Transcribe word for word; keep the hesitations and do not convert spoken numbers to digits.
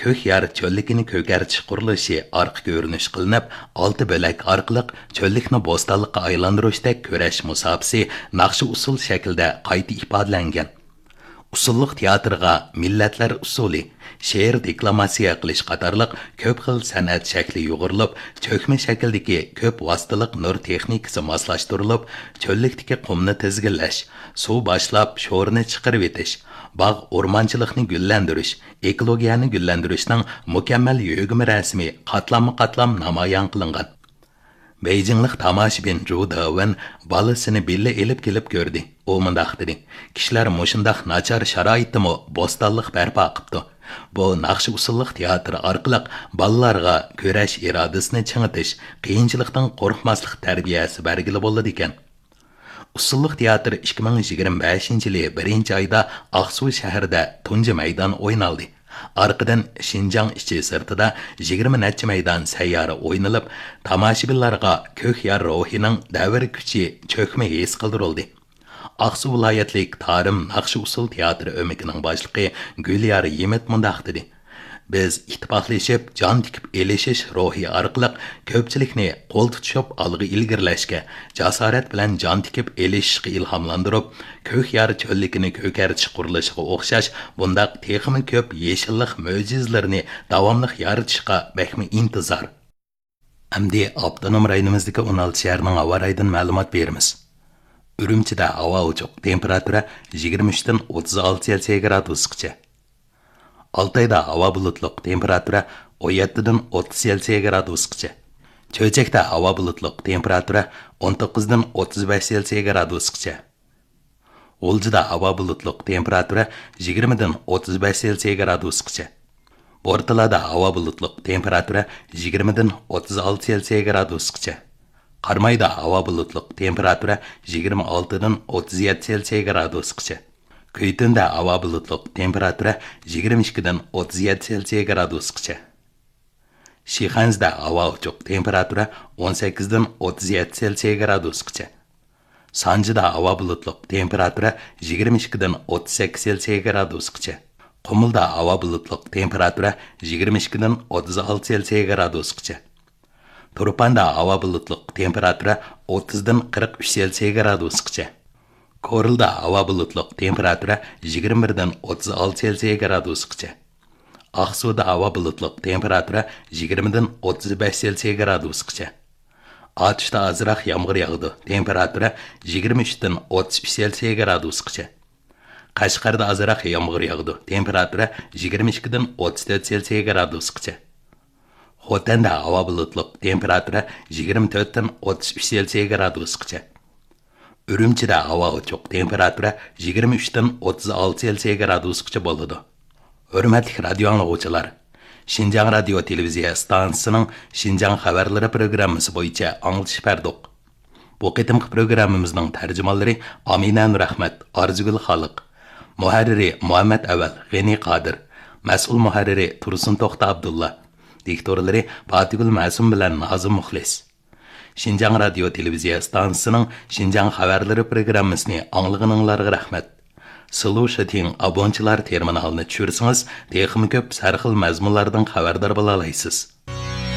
كۆك يار چۆللۈكىنى كۆكەرتىش قۇرۇلۇشى ئارقا كۆرۈنۈش قىلىنىپ، ئالتە بۆلەك ئارقىلىق چۆللۈكنى بوستانلىققا ئايلاندۇرۇشتەك كۈرەش مۇساپىسى ناخشا ئۇسسۇل شەكلىدە قايتا ئىپادىلەنگەن. ئۇسسۇللۇق تىياتىرغا مىللەتلەر ئۇسسۇلى، شېئىر دېكلاماتسىيە قىلىش قاتارلىق كۆپ خىل سەنئەت شەكلى يۇغۇرۇلۇپ، چۆكمە شەكىلدىكى كۆپ ۋاسىتىلىق نۇر تېخنىكىسى ماسلاشتۇرۇلۇپ، چۆللۈكتىكى قۇمنى تىزگىنلەش، سۇ باشلاپ شورىنى چىقىرىۋېتىش، باغ ئورمانچىلىقنى گۈللەندۈرۈش، ئېكولوگىيەنى گۈللەندۈرۈشنىڭ مۇكەممەل يۆگىمە رەسىمى قاتلاممۇ قاتلام نامايان قىلىنغان. بېيجىڭلىق تاماشىبىن جۇ دېۋېن بالىسىنى بىللە ئېلىپ كېلىپ كۆردى. ئۇ مۇنداق دېدى: «كىشىلەر مۇشۇنداق ناچار شارائىتتىمۇ بوستانلىق بەرپا قىپتۇ. بۇ ناخشا ئۇسسۇللۇق تىياتىرى ئارقىلىق بالىلارغا كۈرەش ئىرادىسىنى چىڭىتىش، قىيىنچىلىقتىن قورقماسلىق تەربىيەسى بەرگىلى بولىدىكەن.» ئۇسسۇللۇق تىياتىرى ئىككى مىڭ يىگىرمە بەشىنچى يىلى بىرىنچى ئايدا ئاقسۇ شەھىرىدە تۇنجى مەيدان ئوينالدى. ئارقىدىن شىنجاڭ ئىچى سىرتىدا يىگىرمە نەچچە مەيدان سەييارە ئوينىلىپ، تاماشىبىنلارغا كۆك يار روھىنىڭ دەۋر كۈچى چۆكمە ھېس قىلدۇرۇلدى. ئاقسۇ ۋىلايەتلىك تارىم ناخشا ئۇسسۇل تىياتىرى ئۆمىكىنىڭ باشلىقى گۈليار يىمىت مۇنداق دېدى: «بىز ئىتتىپاقلىشىپ، جان تىكىپ ئېلىشىش روھى ئارقىلىق كۆپچىلىكنى قول تۇتۇشۇپ ئالغا ئىلگىرىلەشكە، جاسارەت بىلەن جان تىكىپ ئېلىشىشقا ئىلھاملاندۇرۇپ، كۆك يار چۆللۈكىنى كۆكەرتىش قۇرۇلۇشىغا ئوخشاش بۇنداق تېخىمۇ كۆپ يېشىللىق مۆجىزىلىرىنى داۋاملىق يارىتىشقا بەكمۇ ئىنتىزار.» ئەمدى ئاپتونوم رايونىمىزدىكى ئون ئالتە شەھەرنىڭ ھاۋا رايىدىن مەلۇمات بېرىمىز. ئۈرۈمچىدە ھاۋا ئوچۇق، تېمپېراتۇرا يىگىرمە ئۈچتىن ئوتتۇز ئالتە سېلسىيە گرادۇسقىچە. ئالتايدا ھاۋا بۇلۇتلۇق، تېمپېراتۇرا ئون يەتتىدىن ئوتتۇز سېلسىيە گرادۇسقىچە. چۆچەكتە ھاۋا بۇلۇتلۇق، تېمپېراتۇرا ئون توققۇزدىن ئوتتۇز بەش سېلسىيە گرادۇسقىچە. غۇلجىدا ھاۋا بۇلۇتلۇق، تېمپېراتۇرا يىگىرمىدىن ئوتتۇز بەش سېلسىيە گرادۇسقىچە. بورتالادا ھاۋا بۇلۇتلۇق، تېمپېراتۇرا يىگىرمىدىن ئوتتۇز ئالتە سېلسىيە گرادۇسقىچە. قارامايدا ھاۋا بۇلۇتلۇق، تېمپېراتۇرا يىگىرمە ئالتىدىن ئوتتۇز يەتتە سېلسىيە گرادۇسقىچە. كۈيتۈندە ھاۋا بۇلۇتلۇق، تېمپېراتۇرا يىگىرمە ئىككىدىن ئوتتۇز يەتتە سېلسىيە گرادۇسقىچە. شىخەنزىدە ھاۋا ئوچۇق، تېمپېراتۇرا ئون سەككىزدىن ئوتتۇز يەتتە سېلسىيە گرادۇسقىچە. سانجىدا ھاۋا بۇلۇتلۇق، تېمپېراتۇرا يىگىرمە ئىككىدىن ئوتتۇز سەككىز سېلسىيە گرادۇسقىچە. قۇمۇلدا ھاۋا بۇلۇتلۇق، تېمپېراتۇرا يىگىرمە ئىككىدىن ئوتتۇز ئالتە سېلسىيە گرادۇسقىچە. تۇرپاندا ھاۋا بۇلۇتلۇق، تېمپېراتۇرا ئوتتۇزدىن قىرىق ئۈچ سېلسىيە گرادۇسقىچە. كورلىدا ھاۋا بۇلۇتلۇق، تېمپېراتۇرا يىگىرمە بىردىن ئوتتۇز ئالتە سېلسىيە گرادۇسقىچە. ئاقسۇدا ھاۋا بۇلۇتلۇق، تېمپېراتۇرا يىگىرمىدىن ئوتتۇز بەش سېلسىيە گرادۇسقىچە. ئاتۇشتا ئازراق يامغۇر ياغىدۇ، تېمپېراتۇرا يىگىرمە ئۈچتىن ئوتتۇز ئۈچ سېلسىيە گرادۇسقىچە. قەشقەردە ئازراق يامغۇر ياغىدۇ، تېمپېراتۇرا يىگىرمە ئىككىدىن ئوتتۇز تۆت سېلسىيە گرادۇسقىچە. خوتەندە ھاۋا بۇلۇتلۇق، تېمپېراتۇرا يىگىرمە تۆتتىن ئوتتۇز ئۈچ سېلسىيە گرادۇسقىچە. ئۈرۈمچىدە ھاۋا ئوچۇق، تېمپېراتۇرا يىگىرمە ئۈچتىن ئوتتۇز ئالتە سېلسىيە گرادۇسقىچە بولىدۇ. ھۆرمەتلىك رادىيو ئاڭلىغۇچىلار، شىنجاڭ رادىيو تېلېۋىزىيە ئىستانسىسىنىڭ شىنجاڭ خەۋەرلىرى پروگراممىسى بويىچە ئاڭلىتىش بەردۇق. بۇ قېتىمقى پروگراممىمىزنىڭ تەرجىمانلىرى ئامىنە نۇرئەخمەت، ئارزۇگۈل خالىق، مۇھەررىرى مۇھەممەت ئەۋەل، غېنى قادىر، مەسئۇل مۇھەررىرى تۇرسۇن توختى ئابدۇللا، دىكتورلىرى پاتىگۈل مەسۇم بىلەن نازىم مۇخلىس. شىنجاڭ رادىيو تېلېۋىزىيە ئىستانسىسىنىڭ شىنجاڭ خەۋەرلىرى پروگراممىسىنى ئاڭلىغىنىڭلارغا رەھمەت. سىلۇشىتىڭ ئابونچىلار تېرمىنالىنى چۈشۈرسىڭىز، تېخىمۇ كۆپ سەرخىل مەزمۇنلاردىن خەۋەردار بولالايسىز.